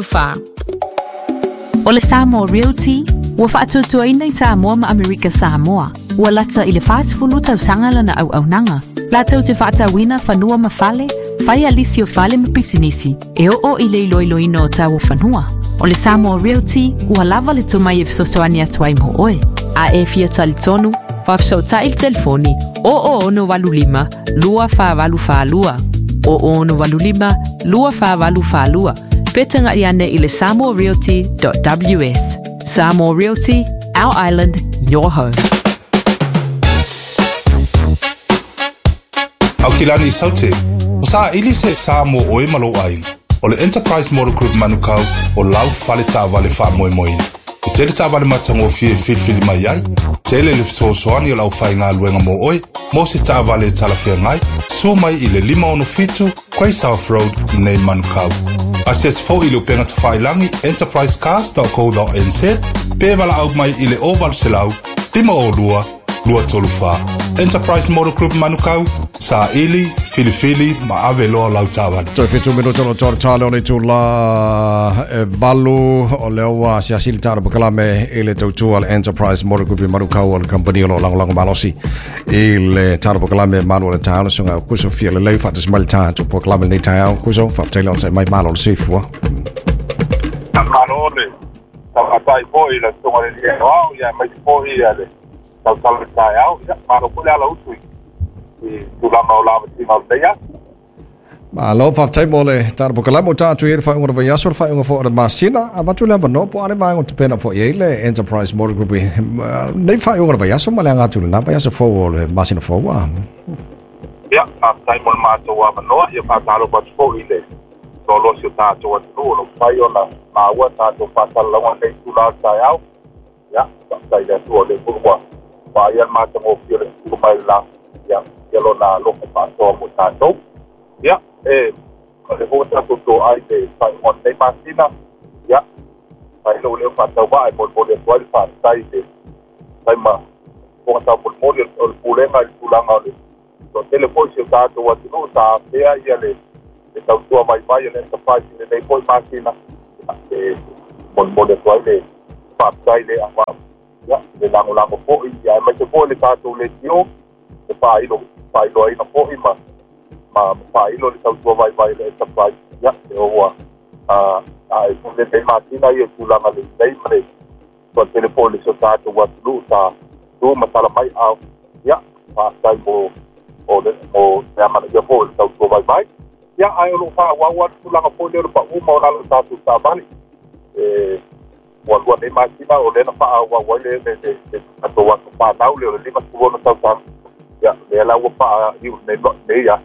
4. O le Samoa Realty ua faatuatuaina i Samoa ma Amerika Samoa. Ua lata i le 40 tausaga lana auaunaga. Latou te faatauina fanua ma fale, faia lisi o fale ma pisinisi, e oo i le iloiloina o tau o fanua. O le Samoa Realty ua lava le tomai e fesoasoani atu ai mo oe. A e fia talitonu, faafesootai i le telefoni 0085 2482 0085 2482 pe tagai ane i le samoarealty.ws. Samoa Realty, our island, your home. Aukilani i Saute, o saili se sa mo oe ma lou aiga. O le Enterprise Motor Group Manukau o lau fale taavale faamoemoeina. E tele taavale matagofie e filifili mai ai, tele le fesoasoani o le aufaigaluega mo oe, mo se taavale e talafeagai, sua mai i le 567 Grey South Road i nei Manukau. Asiasi foi i le upega tafailagi enterprisecars.co.nz pe valaau mai i le 0800 502 234. Enterprise Motor Group Manukau, saili, filifili ma ave loa lau taavale. Toe 7 minuta o tō tale o le itula e 8 o lea ua asiasi le tatou polokalame i le tautua le Enterprise Motor Group i Manukau o le kamupani o lo o lagolago malosi i le tatou polokalame malu o le taeao le susuga Kuso fia lelei faatasi mai le tatou polokalame lenei taeao. Kuso, faafetai le onosai mai, malo le soifua. Malo le tauatai foi i le susuga i le Alii Aoao, ia aemaise foi le tautala o le taeao. Ia, malo foi le ala utu i tulaga o lavasiga o lenei aso. Malo, faafetai mo le tatou polokalame ua tatou i ai le faaiuga o le vaiaso, le faaiuga foi o le masina. Avatu le avanoa po o a le vaega o tapena foi i ai le Enterprise Motor Group i nei faaiuga o le vaiaso ma le aga atu i lena vaiaso fou o le masina fou. Ia, faafetai mo le matou avanoa. Ia, faatalofa atu foi i le loaloa o si o tatou atunuu o lo o mafai ona maua tatou faasalalauga i lenei itula o le taeao. Ia, faafetai i le Atua o lea foi ua vaaia le matagofie o le tutu mai le la, ia, ia lona alofa faasoa mo tatou. Ia, e, o lea foi ua tatou toai i le faaiuga o lenei masina, ia, fai lou leo faatauvaa e molimoli atu ai le faafetai i le fai ma fofoga taumolimoli o le pulega i le tulaga o le toatele foi si o tatou atunuu sa afea ia le tautua vaivai o le Enterprise i lenei foi masina. E molimoli atu ai le faafetai le aua ia, le lagolago foi, ia, aemaise foi le tatou leitio, le faailoaina foi ma faailo le tautua vaivai o le Enterprise. Ia, e ua ae foi lenei masina ia tulaga lelei ma le toatele foi le si o tatou atunuu sa tu ma tala mai ao. Ia, faafetai mo o le mo le amanaia foi o le tautua vaivai. Ia, ae o lo o faaauau lava le tulaga foi lea o le pau ma o lalo o tatou taavale. E ua lua nei masina o lea na faaauau ai le tatou aso fanau lea o le 56 tausaga. Ia, lea la ua faaiu nei nei aso.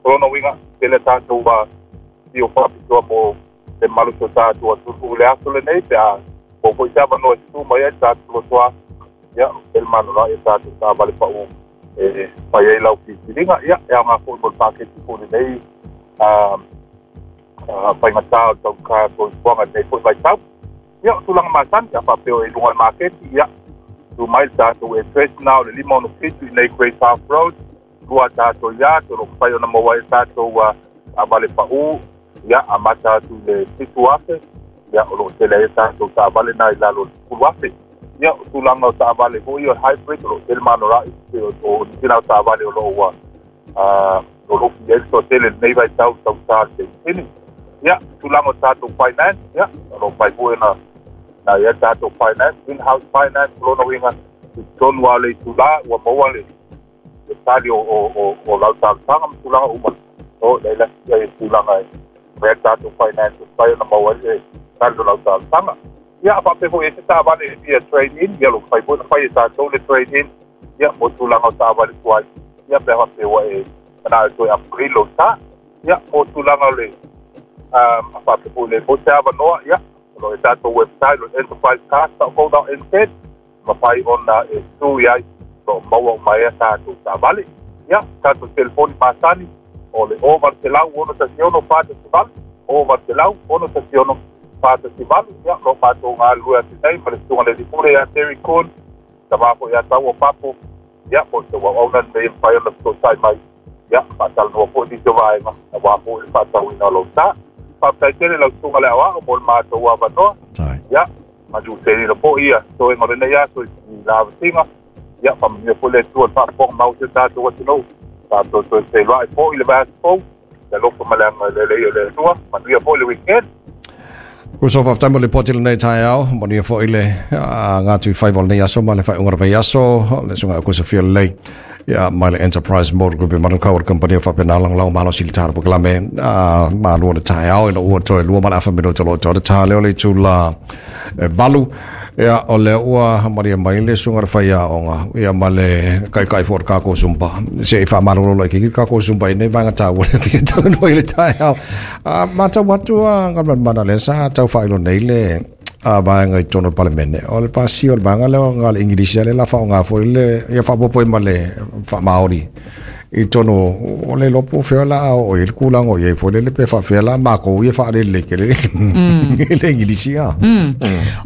O lona uiga, tele tatou afio faapitoa mo le mamalu o si o tatou atunuu i le aso lenei pe a maua foi se avanoa e tutu mai ai le tatou lotoa. Ia, tele manava i tatou taavale pau e fai ai lau filifiliga. Ia, e aoga foi mo le paketi foi lenei faigata o le tauka soifuaga i lenei foi vaitau. Ia, o tulaga masani, a faapea o i luga o le maketi, ia, tu mai le tatou address na o le 567 i nei Grey South Road, lua tatou yard, o lo o mafai ona maua ai tatou taavale pau, ia, amata atu i le 7,000, ia, o lo o tele ai tatou taavale na i lalo o le 10,000. Ia, o tulaga o taavale foi o hybrid, o lo o tele manora'i, o nisi na o taavale o lo o ua o lo o fia ai le toatele i lenei vaitau tausa le penisini. Ia, tulaga o tatou finance, ia, o lo o mafai foi ona na ia tatou finance, in-house finance, o lona uiga, i totonu lava o le itula, ua maua le tali o lau talosaga ma tulaga uma. O leila ia tulaga e fai ai tatou finance, e mafai ona maua ai le tali o lau talosaga. Ia, a faapea foi e se taavale e fia trade in, ia, o lo o mafai foi ona fai e tatou le trade in, ia, mo tulaga o taavale tuai, ia, pe a faapea ua e manao e toe upgrade lou sa. Ia, mo tulaga o le a faapea foi le mo se avanoa, ia, o lo o i tatou website o enterprisecars.co.nz, mafai ona e tu i ai, o lo o maua uma ai a tatou taavale. Ia, tatou telefoni masani o le 0800 616 418, 0800 616 418. Ia, o lo o matou galulue atu nei ma le susuga i le alii pule ia Terry Kuhn, tama foi ia Tau o Papo, ia, po o se auauna lenei e mafai ona fesootai mai, ia, faatalanoa foi nisi o vaega aua foi le faatauina o lou sa. Faafetai tele lau susuga le aoao mo le matou avanoa. Ia, manuia foi ia toega o lenei aso i la avasiga. Ia, faamanuia foi le Atua i le faafofoga mau o si o tatou atunuu. Tatou toe feiloai foi i le vaiaso fou. Le alofa ma le agalelei o le Atua. Manuia foi le weekend. Uso faafetai mo le lipoti i lenei taeao, manuia foi le gatu i faiva o lenei aso ma le faaiuga o le vaiaso, le susuga ia Sofia Lelei, ia mai le Enterprise Motor Group i Manukau o le kamupani o faapena lagolago malosi i le tala polokalame malua o le taeao ina ua toe 2.5 minute o lo o toe le ta lea o le itula e 8. Ia, o lea ua malie mai le susuga i le faiaoga, ia ma le taitai foi o le tatou Zumba. Se i faamalolo laitiiti le tatou Zumba i nei vaega taua lea fia talanoa i le taeao. A matau atu a Galumalemana lea sa tau faailoa nei le a vaega i totonu o le Palemene, o le pasia o le vaega lea o le Igilisi lea o le a faaaoga foi le ia faaopoopo ai ma le faamaori i totonu o le iloa po o fea o le a oo i ai le tulaga o i ai foi lele pe faapefea la matou ia faalelelei tele le Igilisi a.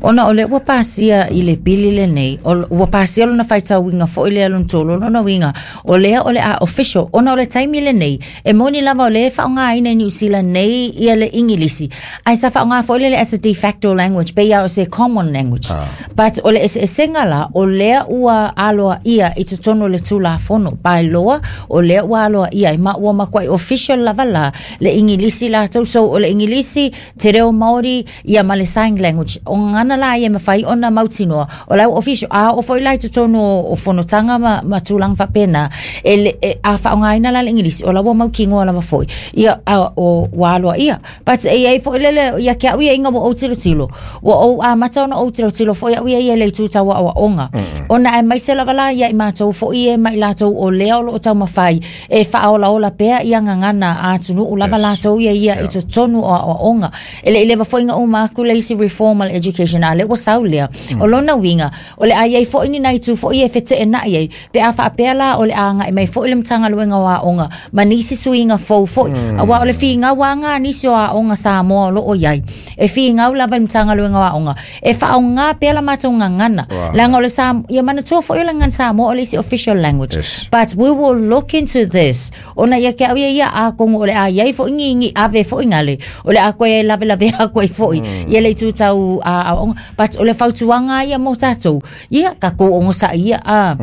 Ona o lea ua pasia i le pili lenei, ua pasia lona faitauina foi lea lona tolu, o lona uiga, o lea o le a official, ona o le taimi lenei, e moni lava o lea e faaaogaina i Niu Sila nei ia le Igilisi, ae sa faaaoga foi lele as a de facto language, pei lava o se common language. But o le eseesega la, o lea ua aloaia i totonu o le Tulafono, by law, o lea ua aloaia ai, ma ua matuai official lava la le Igilisi latou. So o le Igilisi, te reo Māori, ia ma le sign language. O gagana la ia e mafai ona mautinoa, o la ua official. A oo foi la i totonu o fonotaga ma tulaga faapena, e, a faaaogaina la le Igilisi, o la ua mautinoa lava foi, ia, a, o, ua aloaia. But e i ai foi lele, ia te au ia ina ua ou tilotilo, ua ou amata ona ou tilotilo foi au ia ia i le itu tau aoaoga. Ona aemaise lava la ia i matou foi e ma i latou o lea o lo o taumafai e faaolaola pea ia gagana a atunuu lava latou ia ia i totonu o aoaoga. E le i leva foi ona uma atu le isi reform a le education, a lea ua sau lea. O lona uiga, o le a i ai foi ni nai itu foi e feteenai ai, pe a faapea la o le a agai mai foi le Matagaluega o Aoga ma nisi suiga fou foi. Aua o le finau lava lena a nisi o aoga Samoa o lo o i ai, e finau lava i le Matagaluega o Aoga e faaaoga pea la matou gagana, leaga o le Sa-, ia manatua foi o le gagana Samoa o le isi official language. But we will look into this, ona ia te au ia ia, atonu o le a i ai foi ni ave foi gale, o le a toe lavelave atu ai foi ia le itu tau aoaoga. But o le fautuaga ia mo tatou, ia tatou onosai ia a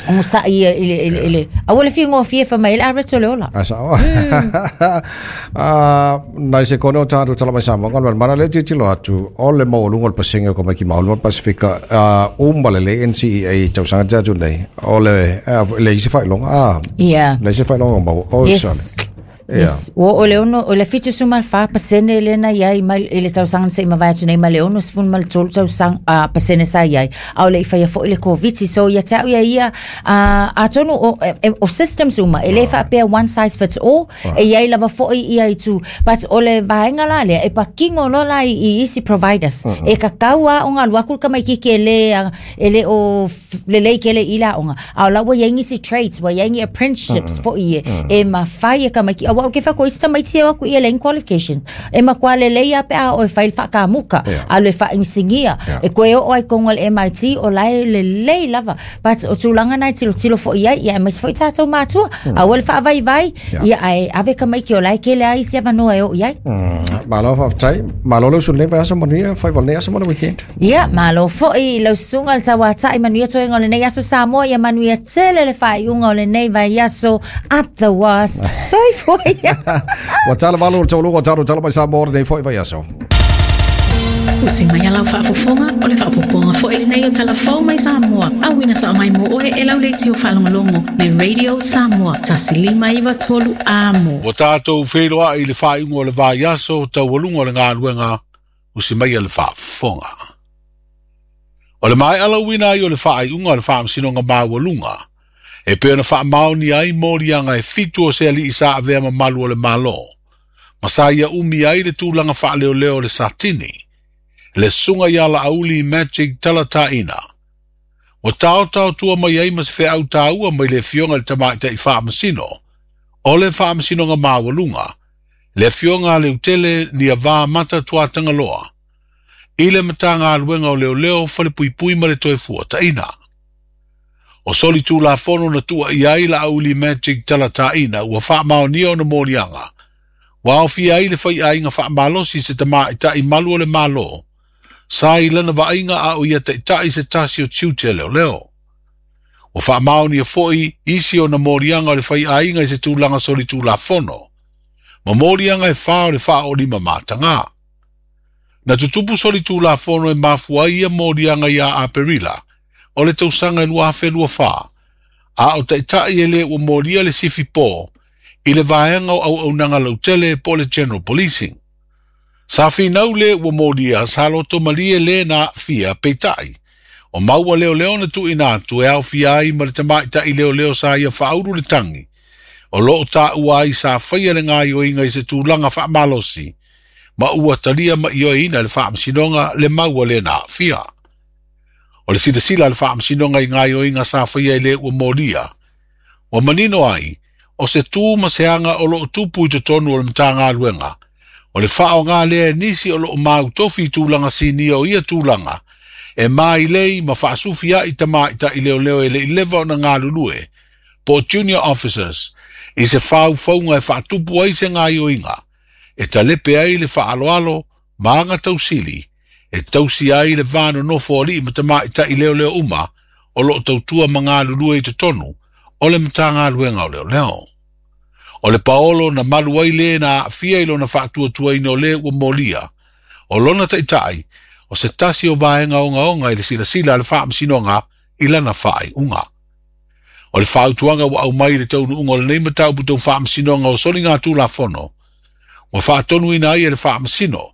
onosai ia i le i le i le aua le figofie fai mai ai le average o le ola. A sao. A nai sekone o tatou tala mai Samoa Galumalemana lea tilotilo atu o le maualuga o le pasene o tamaiti maoli ma le Pasefika a uma lelei NCEA i tausaga te atu nei o le leai se faailoga a leai se faailoga maua o sale. Yes. Ua o le ono, o le 74% lea na i ai mai i le tausaga na se i mavae atu nei ma le 63 tausaga, pasene sa i ai, a o le i faia foi le Koviti. So ia te au ia ia, atonu o, o systems uma, e le faapea one size fits all, e i ai lava foi ia itu. But o le vaega la lea, e patino loa la i isi providers. E tatau lava ona alu atu le tamaitiiti e le, e le o lelei tele i le aoga, a o la ua i ai nisi trades, ua i ai ni apprenticeships foi e, e mafai e tamaiti. Aua ou te fai atu, o isi tamaiti e o atu i e leai ni qualification. E matua lelei lava pe a oo e fai le faakamuta, alu e faainisinia, e toe oo ai i totonu o le MIT, o la e lelei lava. But o tulaga na e tilotilo foi i ai, ia aemaise foi tatou matua. Aua le faavaivai, ia ae ave tamaiti o la e tele lava isi avanoa e oo i ai. Malo faafetai. Malo le usu i lenei vaiaso, manuia faiva o lenei aso ma le weekend. Ia, malo foi i lau susuga le tauatai manuia toega o lenei aso Samoa, ia manuia tele le faaiuga o lenei vaiaso up the was. Soifua ia. Ua tala valu o le tauluga o tatou tala mai Samoa o lenei foi vaiaso. Usi mai a lau faafofoga, o le faaopoopoga foi lenei o Tala Fou mai Samoa, auina sao mai mo oe e lau leitio faalogologo le Radio Samoa 1593 Amo. Ua tatou feiloai i le faaiuga o le vaiaso taualuga o le galuega usi mai le faafofoga. O le maea lauina ai o le faaiuga o le Faamasinoga Maualuga, e pei ona faamaonia ai moliaga e fitu o se alii sa avea mamalu o le Malo, ma sa ia umi ai le tulaga faaleoleo o le Satini, le susuga ia Laauli Magic Talataina, ua taotaotua mai ai ma se feau taua mai le Afioga i le Tamaitai Faamasino o le Faamasinoga Maualuga, le Afioga a Leutele Niavā Mata Tuatagaloa, i le Matagaluega o Leoleo, Falepuipui ma le Toefuataiga. O soli Tulafono na tuuaia ai Laauli Magic Talataina ua faamaonia ona moliaga, Ua aofia ai le faiaiga faamalosi i se tamaitai malu o le Malo, sa i lana vaaiga a o ia taitai i se tasi o tiute a leoleo. Ua faamaonia foi isi ona moliaga o le faiaiga i se tulaga solitulafono, ma moliaga e 4 o le 45 matagā. Na tutupu solitulafono e mafua ai ia moliaga ia Aperila o le tausaga e 2024, a o taitai e le ua molia le sifi po i le vaega o auaunaga lautele po o le General Policing. Sa finau le ua molia sa loto malie le na aafia peitai, o maua leoleo na tuuina atu e aofia ai ma le tamaitai leoleo sa ia faaulu le tagi, o loo taua ai sa faia le gaoioiga i se tulaga faamalosi, ma ua talia ma ioeina le faamasinoga le maua le na aafia. O le silasila a le faamasinoga i gaoioiga sa faia i le ua molia, ua manino ai, o se tu ma se aga o loo tupu i totonu o le Matagaluega, o le faaaoga lea e nisi o loo mautofi i tulaga sinia o ia tulaga, e mailei ma faasufiai tamaitai leoleo e le i leva ona galulue, po junior officers, i se faufauga e faatupu ai se gaoioiga, e talepe ai le faaloalo ma aga tausili, e tausi ai le va nonofo o alii ma tamaitai leoleo uma o loo tautua ma galulue i totonu o le Matagaluega o Leoleo. O le paolo na malu ai le na aafia i lona faatuatuaina o le ua molia, o lona taitai, o se tasi o vaega ogaoga i le silasila a le faamasinoga i lana faaiuga. O le fautuaga ua aumai i le taunuuga o lenei mataupu tau faamasinoga o soligatulafono, ua faatonuina ai e le faamasino,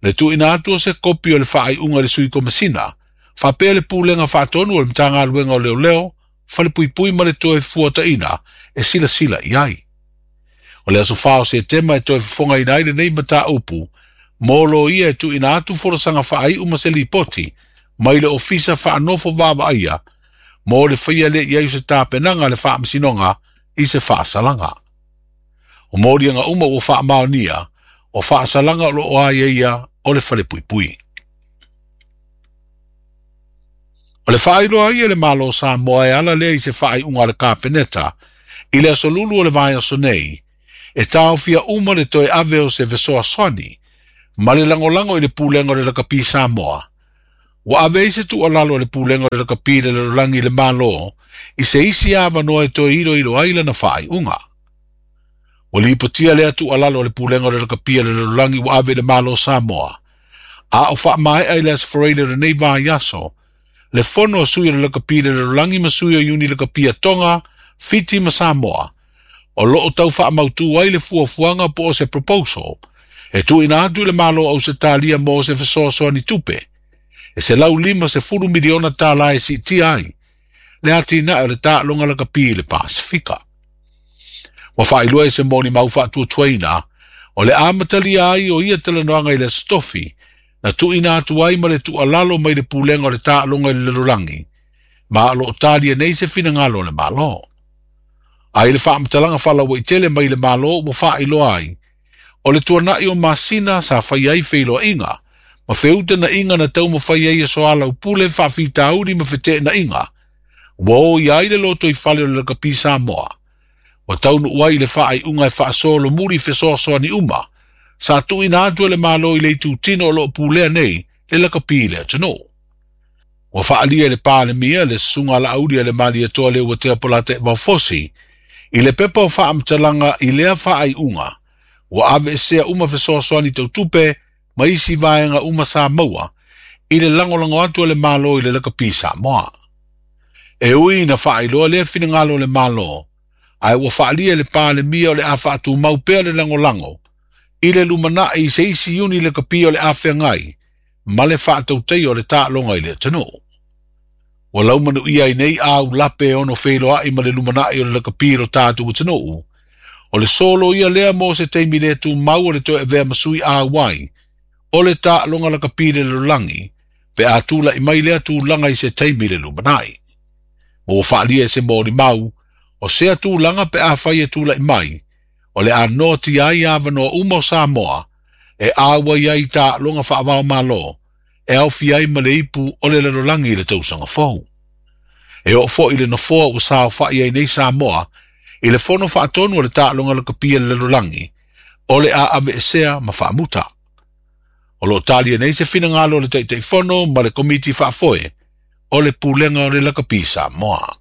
le tuuina atu o se kopi o le faaiuga i le sui komasina, faapea le pulega faatonu o le Matagaluega o Leoleo, falepuipui ma le toe fuataina e silasila i ai. O le aso 4 o Setema e toe fofogaina ai lenei mataupu, mo loia e tuuina atu folasaga faaiu ma se lipoti mai le ofisa faanofo vaavaaia mo le faia lea i ai o se tapenaga a le faamasinoga i se faasalaga. O moliaga uma ua faamaonia, o faasalaga o loo aiaia o le falepuipui. O le faailoa ai e le Malo o Samoa e ala lea i se faaiuga a le Kapeneta i le aso lulu o le vaiaso nei, e taofia uma le toe ave o se fesoasoani ma le lagolago i le pulega o le lakapi Samoa. Ua ave ai se tuualalo a le pulega o le lakapi i le lalolagi i le Malo i se isi avanoa e toe iloilo ai lana faaiuga. Ua lipotia lea tuualalo a le pulega o le lakapi a le lalolagi ua ave i le Malo o Samoa, a o faamaea i le aso Faraile o lenei vaiaso, le fono a sui o le lakapi i le lalolagi ma sui o iuni lakapi a Tonga, Fiti ma Samoa, o loo tau faamautu ai le fuafuaga po o se proposal, e tuuina atu i le Malo o Ausetalia mo se fesoasoani tupe, e $150 miliona tālā e siitia ai, le atinae o le taaloga lakapi i le Pasifika. Ua faailoa e se molimau faatuatuaina, o le amatalia ai o ia talanoaga i le aso tofi, na tuuina atu ai ma le tuualalo mai le pulega o le taaloga i le lalolagi, ma o loo talia nei se finagalo o le Malo. A i le faamatalaga faalauaitele mai le Malo ua faailoa ai, o le tuanai o masina sa fai ai feiloaiga, ma feutagaiga na taumafai ai e soalaupule faafitauli ma feteenaiga, ua o i ai le lotoifale o le lakapi Samoa, ua taunuu ai i le faaiuga e faasolomuli fesoasoani uma, sa tuuina atu e le Malo i le itutino o loo pulea nei le lakapi i le atunuu. Ua faaalia e le Palemia le susuga a Laauli a le Malietoa Leuatea Polataivao Fosi i le pepa o faamatalaga i lea faaiuga, ua aveesea uma fesoasoani tautupe ma isi vaega uma sa maua i le lagolago atu a le Malo i le lakapi Samoa. E ui na faailoa lea finagalo o le Malo, ae ua faaalia e le Palemia o le a faatumau pea le lagolago i le lumanai i se isi iuni lakapi o le a feagai ma le faatautaia o le taaloga i le atunuu. Ua laumanuia ai nei au lape e ono feiloai ma le lumanai o le lakapi i lo tatou atunuu, o le solo ia lea mo se taimi le tumau o le toe avea ma sui auai, o le taaloga lakapi i le lalolagi, pe a tula'i mai lea tulaga i se taimi i le lumanai. Ma ua faaalia e se molimau, o sea tulaga pe afai e tula'i mai, o le a noatia ai avanoa uma o Samoa, e auai ai i taaloga faavaomalo, e aofia ai ma le ipu o le lalolagi i le tausaga fou. E oo foi i le nofoa ua saofa'i ai nei Samoa, i le fono faatonu o le taaloga lakapi a le lalolagi, O le a aveesea ma faamuta. O loo talia nei se finagalo o le Taitaifono ma le Komiti Faafoe o le Pulega o le Lakapi Samoa.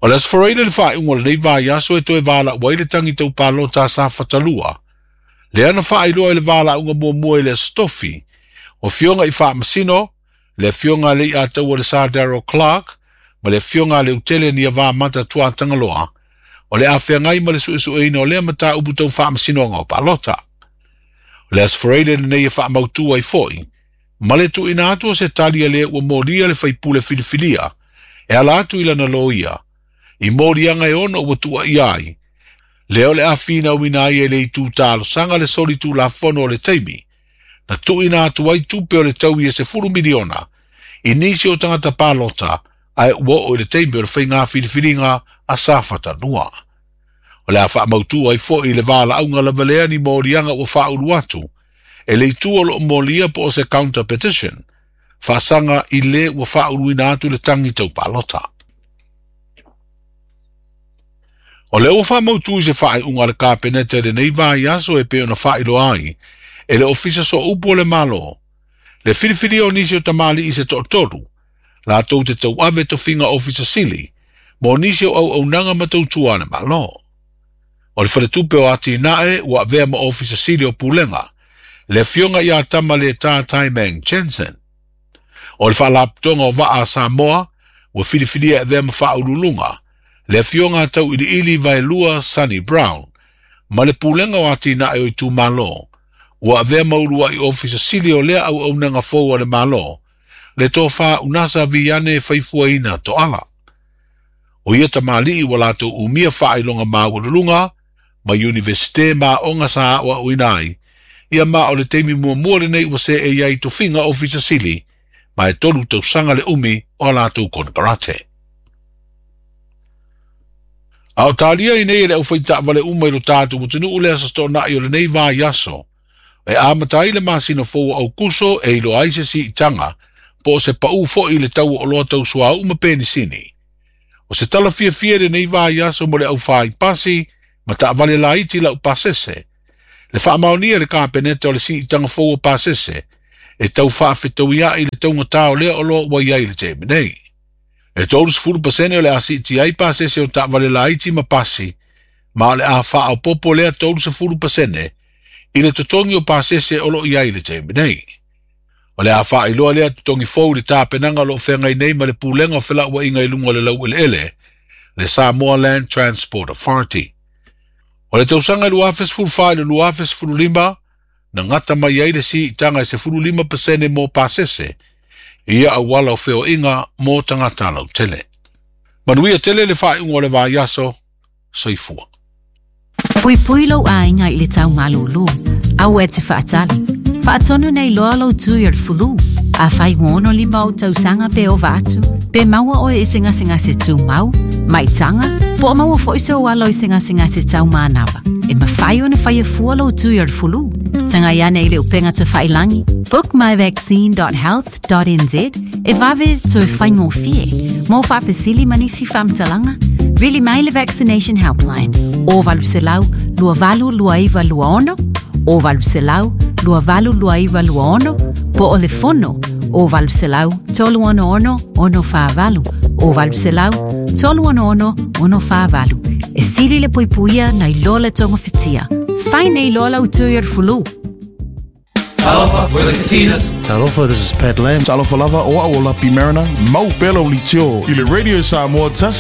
O le Aso Faraile le faaiuga o lenei vaiaso e toe valaau ai le tagi tau palota a Safatalua, lea na faailoa i le valaauga muamua i le Aso Tofi, o afioga i Faamasino, le afioga a Leiataua le Sir Daryl Clark ma le afioga a Leutele Niavamata Tuatagaloa, o le a feagai ma le suesueina o lea mataupu tau faamasinoga o palota. O le Aso Faraile lenei e faamautu ai foi, ma le tuuina atu o se tali a le ua molia le faipule filifilia e ala atu i lana loia, i moliaga e ono ua tuuaia ai, lea o le a finauina ai e le itu talosaga le soli tulafono o le taimi, na tuuina atu ai tupe o le taui e 10 miliona i nisi o tagata palota ae ua oo i le taimi o le faiga filifiliga a Safatalua. O le a faamautu ai foi le valaauga lava lea ni moliaga ua faaulu atu e le itu o loo molia po o se counter petition, faasaga i le ua faauluina atu le tagi tau palota. O lea ua faamautu i se faaiuga a le Kapeneta i lenei vaiaso e pei ona faailoa ai e le Ofisa Sooupu o le Malo, le filifilia o nisi o tamalii se toatolu, latou te tauave tofiga ofisa sili, mo nisi o auaunaga ma tautua a le Malo. O le faletupe o Atinae ua avea ma ofisa sili o Pulega, le afioga ia Tamaleta Taimang Jensen. O le faalapotopotoga o Vaa a Samoa ua filifilia e avea ma faauluuluga, le afioga a Tauiliili Vaelua Sonny Brown, ma le Pulega o Atinae o Itumalo, ua avea ma uluai ofisa sili o lea auaunaga fou a le Malo, le tofa Unasa Viane Faifuaina Toala. O ia tamalii ua latou umia faailoga maualuluga ma Iunivesite ma aoga sa aoaoina ai, ia ma o le taimi muamua lenei ua seei ai tofiga ofisa sili, ma e 3 tausaga le umi o a latou konekarate. A o talia i nei e le aufai taavale uma i lo tatou atunuu le aso toonai o lenei vaiaso, e amata ai le masina fou o Aukuso e iloa ai se siitaga, po o se pau foi i le tau o oloa tau suauu ma penisini. O se tala fiafia i lenei vaiaso mo le aufai pasi ma taavale laiti lau pasese, le faamaonia e le Kapeneta o le siitaga fou o pasese, e tau faafetauia'i le taugata o lea oloa ua i ai i le taimi nei. E 30% o le a siiti ai pasese o taavale laiti ma pasi, ma o le a faaopopo lea 30% i le totogi o pasese o loo i ai i le taimi nei. O le a faailoa lea totogi fou i le tapenaga o loo feagai nei ma le Pulega o Felauaiga i luga o le laueleele, le Samoa Land Transport Authority. O le tausaga i 2014 i le 2015, na gata mai ai le siitaga e 15% mo pasese, i ia auala o feoaiga mo tagata lautele. Manuia tele le faaiuga o le vaiaso, soifua. Puipui lou aiga i le tau malūlū. Aua e te faatali. Faatonu nei loa lou tui o le fulu. Afai ua 65 ou tausaga pe ova atu, pe maua oe i se gasegase tumau, maitaga, po o maua foi sou alo i se gasegase taumanava. E mafai ona faia fua lou tui o le fulu. Tagai ane i le upega tafailangi, bookmyvaccine.health.nz e vave toe faigofie. Mo faafesili ma nisi faamatalaga, vili mai le Vaccination Helpline o 800 2829 26 o 800 2829 26 po o le fono o 800 366 648 o 800 366 648. E sili le puipuia nai lo le togofitia. Fai nei loa lau tui o le fulu. Talofa, we're the Katinas. Talofa, this is Pat Lam. Talofa lava o au o Lapi Mariner, mau pela o litio. I le Radio Samoa tasi.